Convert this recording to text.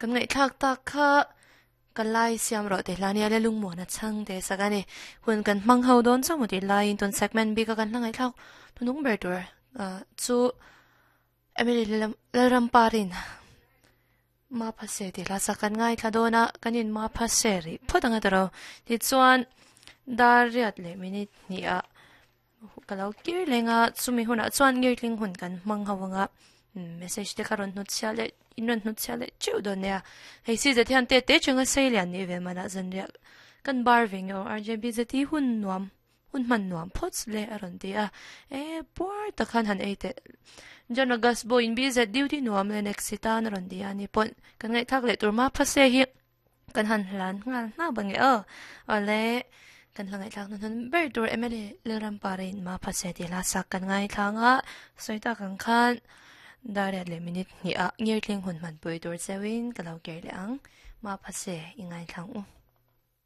Kan ngaihthlak tak kha ka lai siam rawh tih hla nia le lungmuan a chhang te sak a ni. Hun kan hmang ho dawn chauh maw tih laiin tun segment bik a kan hla ngaihthlak hnung ber tur chu Emily Lalramparin Maphase tih hla sak kan ngaithla dawn a, kan in Maphase rih phawt ang a tiro. Tichuan dar riat leh minute hnih ah Ka lo kir leng a, chumi hunah chuan ngirtling hun kan hmang ho ang a, message te kha rawn hnut chhiah leh in rawn hnut chhiah leh teuh dawn nia. Hei si zet hian te te chunga sei lian nih ve manah zanriah kan bar ve nge aw RJB zet hi hun nuam hun hman nuam phawt le a rawn ti a, e puar tak khan han ei teh. John August Boy in BZ duty nuam le next si tan a rawn ti a ni pawh kan ngaihthlak leh tur ma phase hi. Kan han hlan nghal hnap ange aw. Awle, kan hla ngaihthlak hnu hnun ber tur MLA Lalrampara in ma phase tih hla sak kan ngaithlang a, sawi tak ang khan dar riat leh minute hnih ah ngirtling hun hmanpui tur cheuhin ka lo ker leh ang. Ma phase i ngaithlang u.